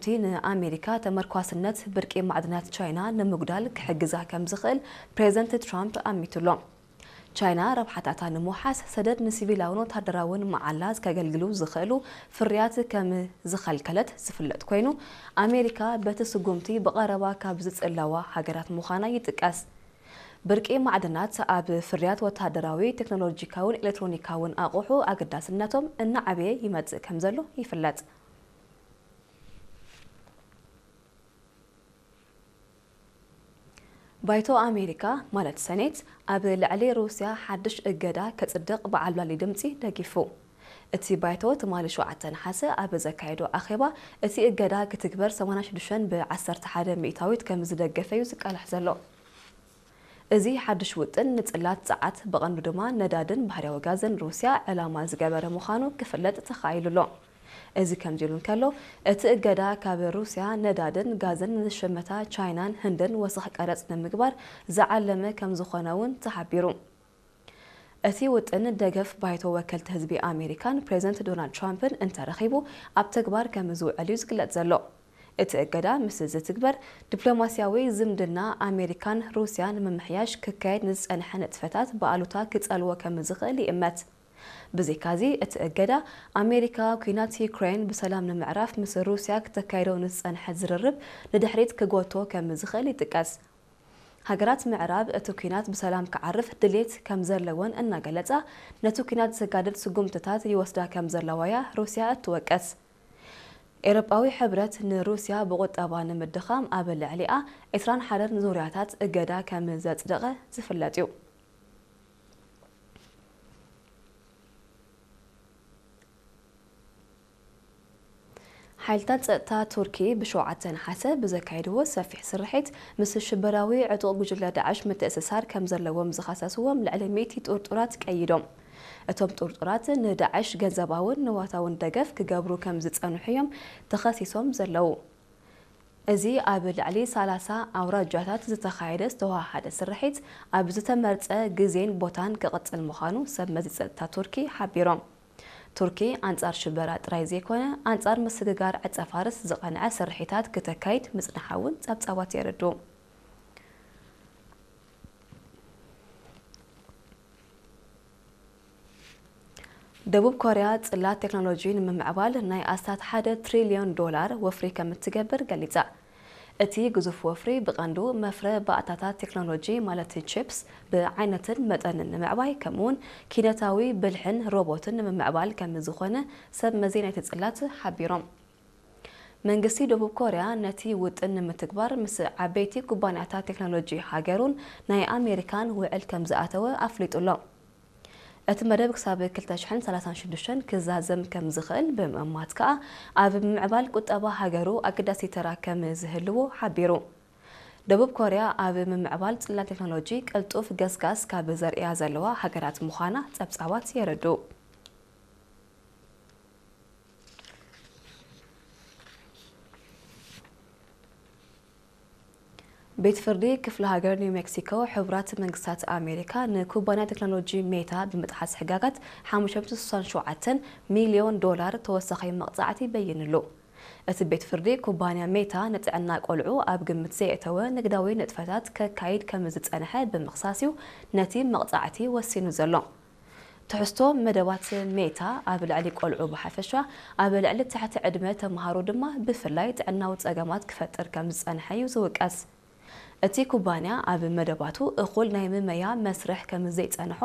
እቲ ንኣሜሪካ ተመርኳስነት ብርቂ ማዕድናት ቻይና ንምጉዳል ክሕግዛ ከም ዝኽእል ፕሬዝደንት ትራምፕ ኣሚቱሎ። ቻይና ረብሓታታ ንምውሓስ ሰደድ ንሲቪላውን ወታደራውን መዓላ ከገልግሉ ዝኽእሉ ፍርያት ከም ዝኸልከለት ዝፍለጥ ኮይኑ፣ ኣሜሪካ በቲ ስጉምቲ ብቐረባ ካብ ዝጽለዋ ሃገራት ምዃና ይጥቀስ። ብርቂ ማዕድናት ኣብ ፍርያት ወታደራዊ፣ ቴክኖሎጂካውን ኤሌክትሮኒካውን ኣቑሑ ኣገዳስነቶም እናዓበየ ይመጽእ ከም ዘሎ ይፍለጥ። ባይቶ ኣሜሪካ ማለት ሰኔት ኣብ ልዕሊ ሩስያ ሓድሽ እገዳ ከጽድቕ ብዓብላሊ ድምጺ ደጊፉ። እቲ ባይቶ ትማሊ ሸውዓተ ነሓሰ ኣብ ዘካየዶ ኣኼባ፣ እቲ እገዳ ክትግበር ሰማንያ ሽዱሽተ ብ ዓሰርተ ሓደ ሚእታዊት ከም ዝደገፈ እዩ ዝቃላሕ ዘሎ። እዚ ሓድሽ ውጥን ንጽላት ጸዓት፣ ብቐንዱ ድማ ነዳድን ባህርያዊ ጋዝን ሩስያ ዕላማ ዝገበረ ምዃኑ ክፍለጥ ተኻኢሉ ኣሎ። እዚ ከምዚ ኢሉ እንከሎ፣ እቲ እገዳ ካብ ሩስያ ነዳድን ጋዝን ንዝሸመታ ቻይናን ህንድን ወሰኽ ቀረጽ ንምግባር ዝዓለመ ከም ዝኾነ እውን ተሓቢሩ። እቲ ውጥን ደገፍ ባይቶ ወከልቲ ህዝቢ ኣሜሪካን ፕሬዝደንት ዶናልድ ትራምፕን እንተረኺቡ ኣብ ተግባር ከም ዝውዕል እዩ ዝግለጽ ዘሎ። እቲ እገዳ ምስ ዝትግበር፣ ዲፕሎማስያዊ ዝምድና ኣሜሪካን ሩስያን ንምምሕያሽ ክካየድ ንዝጸንሐ ንጥፈታት ብኣሉታ ክጸልዎ ከም ዝኽእል ይእመት። ብዘይካዚ፣ እቲ እገዳ ኣሜሪካ ኲናት ዩክሬን ብሰላም ንምዕራፍ ምስ ሩስያ ክተካይዶ ንዝጸንሐ ዝርርብ ንድሕሪት ክጎቶ ከም ዝኽእል ይጥቀስ። ሃገራት ምዕራብ እቲ ኲናት ብሰላም ክዓርፍ ድሌት ከም ዘለወን እናገለጻ፣ ነቲ ኲናት ዘጋድድ ስጉምትታት ይወስዳ ከም ዘለዋ እያ ሩስያ እትወቅስ። ኤውሮጳዊ ሕብረት ንሩስያ ብቁጠባ ንምድኻም ኣብ ልዕሊኣ ዕስራን ሓደን ዙርያታት እገዳ ከም ዘጽደቐ ዝፍለጥ እዩ። ሓይልታት ጸጥታ ቱርኪ ብሸውዓተ ነሓሰ ብዘካየድዎ ሰፊሕ ስርሒት፣ ምስ ሽበራዊ ዕጡቕ ጉጅለ ዳዕሽ ምትእስሳር ከም ዘለዎም ዝኸሰስዎም ልዕሊ ሚእቲ ጥርጡራት ቀይዶም። እቶም ጥርጡራት ንዳዕሽ ገንዘባውን ንዋታውን ደገፍ ክገብሩ ከም ዝጸንሑ እዮም ተኸሲሶም ዘለዉ። እዚ ኣብ ልዕሊ ሰላሳ ኣውራጃታት ዝተኻየደ ዝተወሃሃደ ስርሒት፣ ኣብ ዝተመርጸ ግዜን ቦታን ክቕጽል ምዃኑ ሰብ መዚ ጸጥታ ቱርኪ ሓቢሮም። ቱርኪ ኣንጻር ሽበራ ጥራይ ዘይኮነ፣ ኣንጻር ምስግጋር ዕጸ ፋርስ ዝቐንዐ ስርሒታት ክተካይድ ምጽንሓ እውን ጸብጻባት የረድኡ። ደቡብ ኮርያ ጽላት ቴክኖሎጂ ንምምዕባል ናይ ኣስታት ሓደ ትሪልዮን ዶላር ወፍሪ ከም እትገብር ገሊጻ። እቲ ግዙፍ ወፍሪ ብቐንዱ መፍረ ባእታታት ቴክኖሎጂ ማለት ቺፕስ ብዓይነትን መጠንን ንምዕባይ፣ ከምኡውን ኪነታዊ ብልሕን ሮቦትን ንምምዕባል ከም ዝኾነ ሰብ መዚ ናይቲ ጽላት ሓቢሮም። መንግስቲ ደቡብ ኮርያ ነቲ ውጥን ንምትግባር ምስ ዓበይቲ ኩባንያታት ቴክኖሎጂ ሃገሩን ናይ ኣሜሪካን ውዕል ከም ዝኣተወ ኣፍሊጡ ኣሎ። እቲ መደብ ክሳብ ክልተ ሽሕን ሰላሳን ሽዱሽተን ክዛዘም ከም ዝኽእል ብምእማት ከኣ፣ ኣብ ምምዕባል ቁጠባ ሃገሩ ኣገዳሲ ተራ ከም ዝህልዎ ሓቢሩ። ደቡብ ኮርያ ኣብ ምምዕባል ጽላት ቴክኖሎጂ ቅልጡፍ ገስጋስ ካብ ዘርእያ ዘለዋ ሃገራት ምዃና ጸብጻባት የረድኡ። ቤት ፍርዲ ክፍለ ሃገር ኒው ሜክሲኮ፣ ሕቡራት መንግስታት ኣሜሪካ ንኩባንያ ቴክኖሎጂ ሜታ ብምጥሓስ ሕጋጋት ሓሙሽተ ሚእቲ ስሳን ሸውዓተን ሚልዮን ዶላር ተወሳኺ መቕጻዕቲ በይንሉ። እቲ ቤት ፍርዲ፣ ኩባንያ ሜታ ንጥዕና ቆልዑ ኣብ ግምት ዘየእተወ ንግዳዊ ንጥፈታት ከካይድ ከም ዝጸንሐ ብምኽሳስ እዩ ነቲ መቕጻዕቲ ወሲኑ ዘሎ። ትሕዝቶ መደባት ሜታ ኣብ ልዕሊ ቆልዑ ብሓፈሻ፣ ኣብ ልዕሊ ትሕቲ ዕድመ ተምሃሮ ድማ ብፍላይ ጥዕናዊ ጸገማት ክፈጥር ከም ዝጸንሐ እዩ ዝውቀስ። እቲ ኩባንያ ኣብ መደባቱ እኹል ናይ ምመያ መስርሕ ከም ዘይጸንሖ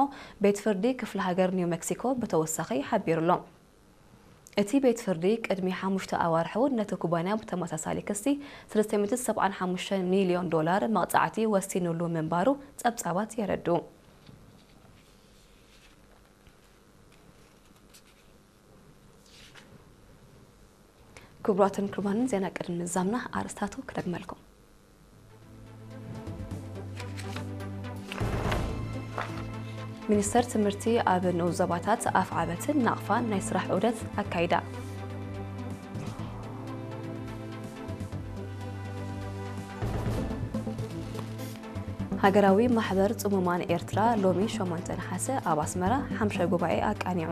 ቤት ፍርዲ ክፍለ ሃገር ኒው ሜክሲኮ ብተወሳኺ ሓቢሩ ኣሎ። እቲ ቤት ፍርዲ ቅድሚ ሓሙሽተ ኣዋርሕ እውን ነቲ ኩባንያ ብተመሳሳሊ ክሲ ሰለስተ ሚእቲ ሰብዓን ሓሙሽተን ሚልዮን ዶላር መቕጻዕቲ ወሲኑሉ ምንባሩ ጸብጻባት የረድኡ። ክቡራትን ክቡራንን፣ ዜና ቅድሚ ምዛምና ኣርእስታቱ ክደግመልኩም። ሚኒስተር ትምህርቲ ኣብ ንኡስ ዞባታት ኣፍዓበትን ናቕፋን ናይ ስራሕ ዑደት ኣካይዳ። ሃገራዊ ማሕበር ጽሙማን ኤርትራ ሎሚ ሸሞንተ ነሓሰ ኣብ ኣስመራ ሓምሻይ ጉባኤ ኣቃኒዑ።